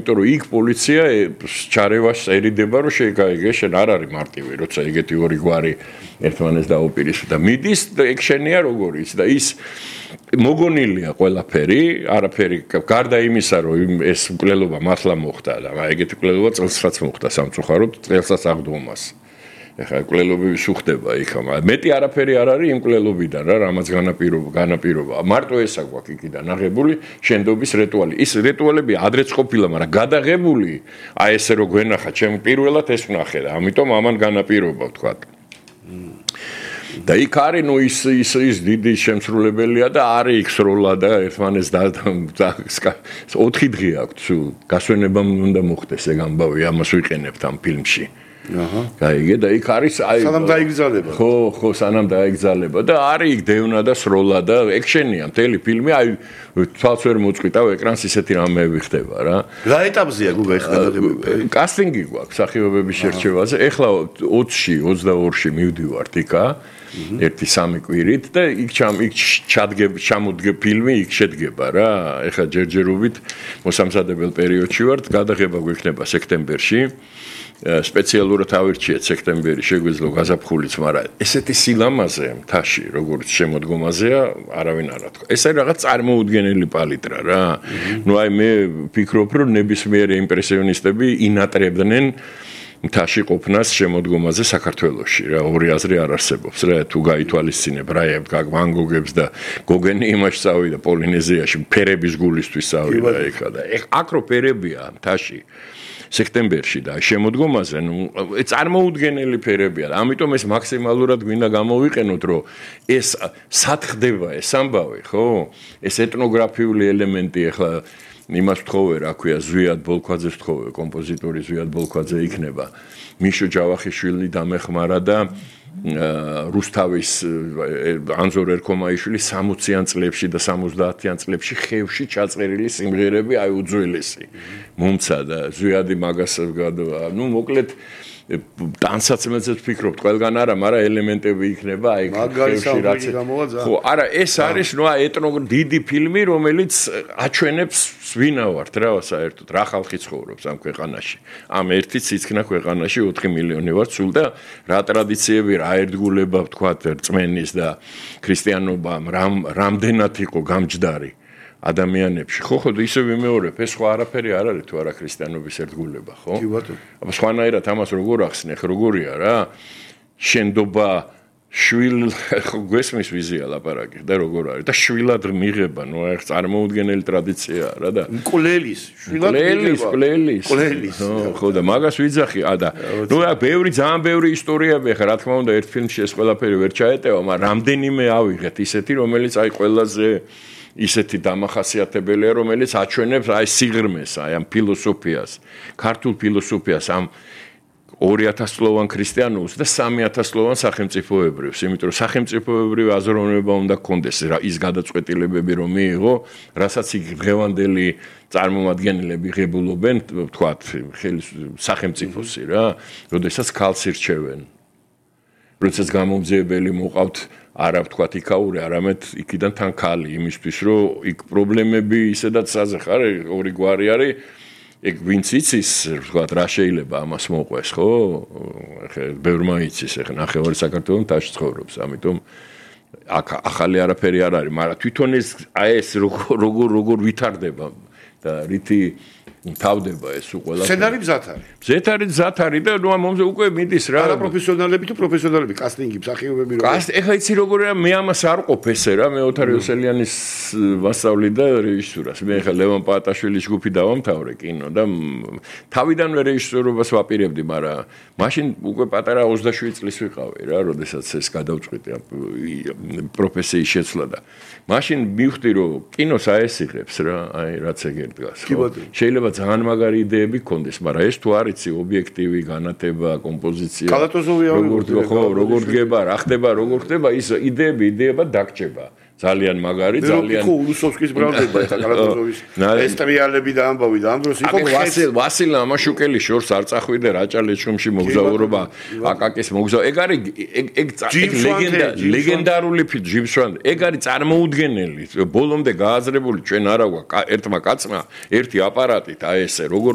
იმიტომ რომ იქ პოლიცია ჩარევას ერიდება რომ შეიგე შენ არ არის მარტივი როცა ეგეთი ორი გვარი ერთმანეთს დაუპირისპირდა და მიდის ეგ შენია როგორ ის და ის მოგონილია ყველაფერი არაფერი გარდა იმისა რომ ეს მკვლელობა მართლა მოხდა და ეგეთი მკვლელობა წელსაც მოხდა სამწუხაროდ წელსაც აღდგომას ეხლა მკვლელობები სუხდება იქ მეტი არაფერი არ არის იმ მკვლელობიდან რა რამაც განაპირობა მარტო ესა გვაქვს იქიდან აღებული შენდობის რიტუალი ის რიტუალები ადრეც ყოფილა მაგრამ გადაღებული აი ესე რომ გვენახა ჩემ პირველად ეს ვნახე და ამიტომ ამან განაპირობა ვთქვა და იქ არის ნუ ის დიდი შემსრულებელია და არის იქ სროლა და ერთმანეთს და 4 დღე აქვს გასვენებამ უნდა მოხდეს ეგ ამბავი ამას ვიყენებთ ამ ფილმში გაიგე და იქ არის აი სანამ დაიგზალება ხო სანამ დაიგზალება და არის იქ დევნა და სროლა და ექშენია მთელი ფილმი აი თვალს ვერ მოწყვიტავ ეკრანს ისეთი რამეები ხდება რა ეტაპზეა გუგა ეხლა გადაღებები კასტინგი გვაქვს სახიობების შერჩევაზე ეხლა 20-ში 22-ში მივდივართ იქა 1-3 კვირით და იქ ჩამოდგება ფილმი იქ შედგება რა ეხლა ჯერჯერობით მოსამზადებელ პერიოდში ვართ გადაღება გვექნება სექტემბერში სპეციალურად ავირჩიეთ სექტემბერი შეგვეძლო გაზაფხულიც, მაგრამ ესეთი სილამაზე მთაში, როგორც შემოდგომაზეა, არავინ არ ათქვა. ეს არის რაღაც წარმოუდგენელი პალიტრა რა. ნუ აი მე ვფიქრობ, რომ ნებისმიერი იმპრესიონისტები ინატრებდნენ მთაში ყოფნას შემოდგომაზე საქართველოში რა. ორი აზრი არ არსებობს რა. თუ გაითვალისწინებ რა ვან გოგებს და გოგენი იმაში წავიდა პოლინეზიაში, ფერების გულისთვის წავიდა ეხლა და აქ რო ფერებია მთაში სექტემბერში და შემოდგომაზე ნუ წარმოუდგენელი ფერებია. ამიტომ ეს მაქსიმალურად გვინდა გამოვიყენოთ, რომ ეს სათხდება ეს ამბავი, ხო? ეს ეთნოგრაფიული ელემენტი ახლა იმას ვთხოვე, რა ქვია, ზვიად ბოლქვაძეს ვთხოვე, კომპოზიტორი ზვიად ბოლქვაძე იქნება. მიშო ჯავახიშვილი დამეხმარა და რუსთავის ანზორ ერქომაიშვილი 60-იან წლებში და 70-იან წლებში ხევში ჩაწერილი სიმღერები აი უძველესი მომცა და ზვიადი მაგას ნუ მოკლედ ტანსაცმელზე ვფიქრობთ ყველგან არა მაგრამ ელემენტები იქნება აი ხევში რაც ხო არა ეს არის ნუ დიდი ფილმი რომელიც აჩვენებს ვინა ვართ რა საერთოდ რა ხალხი ცხოვრობს ამ ქვეყანაში ამ ერთი ციცქნა ქვეყანაში 4 მილიონი ვართ სულ და რა ტრადიციები რა ერთგულება ვთქვათ რწმენის და ქრისტიანობა რამდენად იყო გამჯდარი ადამიანებში ხო ისე ვიმეორებ ეს სხვა არაფერი არ არის თუ არა ქრისტიანობის ერთგულება ხო კი ბატონო აბა სხვანაირად ამას როგორ ახსნე როგორია რა შენდობა შვილ გვესმის ვიზია ლაპარაკი და როგორ არის და შვილად მიღება ნუ აი წარმოუდგენელი ტრადიციაა რა და მკვლელის შვილად მკვლელის ხო და მაგას ვიძახი და ნუ აი ძალიან ბევრი ისტორიები ხა რა თქმა უნდა ერთ ფილმში ეს ყველაფერი ვერ ჩაეტევა მაგრამ რამდენიმე ავიღეთ ისეთი რომელიც აი ყველაზე ისეთი დამახასიათებელია რომელიც აჩვენებს აი სიღრმეს აი ამ ფილოსოფიას ქართულ ფილოსოფიას ამ 2000 წლოვან ქრისტიანობას და 3000 წლოვან სახელმწიფოებრიოს იმიტომ რომ სახელმწიფოებრივი აზროვნება უნდა გქონდეს ის გადაწყვეტილებები რომ მიიღო რასაც იქ დღევანდელი წარმომადგენლები ღებულობენ ვთქვათ სახელმწიფოსი რა როდესაც ქალს ირჩევენ როდესაც გამომძიებელი მოყავთ არა ვთქვათ იქაური არამედ იქიდან თან ქალი იმისთვის რომ იქ პრობლემები ისედაც საზეხ არის ორი გვარი არის ეგ ვინც იცის ვთქვათ რა შეიძლება ამას მოყვეს ხო ხე ბევრმა იცის ეხა ნახევარი საქართველოს მთაში ცხოვრობს ამიტომ აქ ახალი არაფერი არ არის მაგრამ თვითონ ეს აი ეს როგორ ვითარდება და რითი თავდება ეს უყველა სცენარი მზად არის და ნუ მომზე უკვე მიდის რა არა პროფესიონალები თუ პროფესიონალები კასტინგი მსახიობები რო ეხლა იცი როგორია მე ამას არ ყოფ ესე რა მე ოთარ იოსელიანის ვასწავლი და რეჟისურას მე ეხლა ლევან პაატაშვილის ჯგუფი დავამთავრე კინო და თავიდანვე რეჟისორობას ვაპირებდი მაგრამ მაშინ უკვე პატარა 27 წლის ვიყავი რა როდესაც ეს გადავწყვიტე პროფესიის შეცვლა და მაშინ მივხვდი რომ კინოს აესიღებს რა აი რაც ეგერ დგას შეიძლება ძალიან მაგარი იდეები გქონდეს, მაგრამ ეს თუ არ იცი ობიექტივი განათება, კომპოზიცია, როგორ დგება, რა ხდება, როგორ ხდება, ის იდეება დაგჭება. ძალიან მაგარი, ძალიან ხო ულუსოვსკის ბრალდება ეხა კალატოზოვის ეს ტრიალები და ამბავი და ამ დროს იყო ვასილ ამაშუკელის შორს არ წახვიდე რაჭა-ლეჩხუმში მოგზაურობა აკაკის მოგზაურობა ეგ არის ეგ ლეგენდარული ფილმი ჯიმსვან ეგ არის წარმოუდგენელი ბოლომდე გააზრებული ჩვენ არა ერთმა კაცმა ერთი აპარატით აი ესე როგორ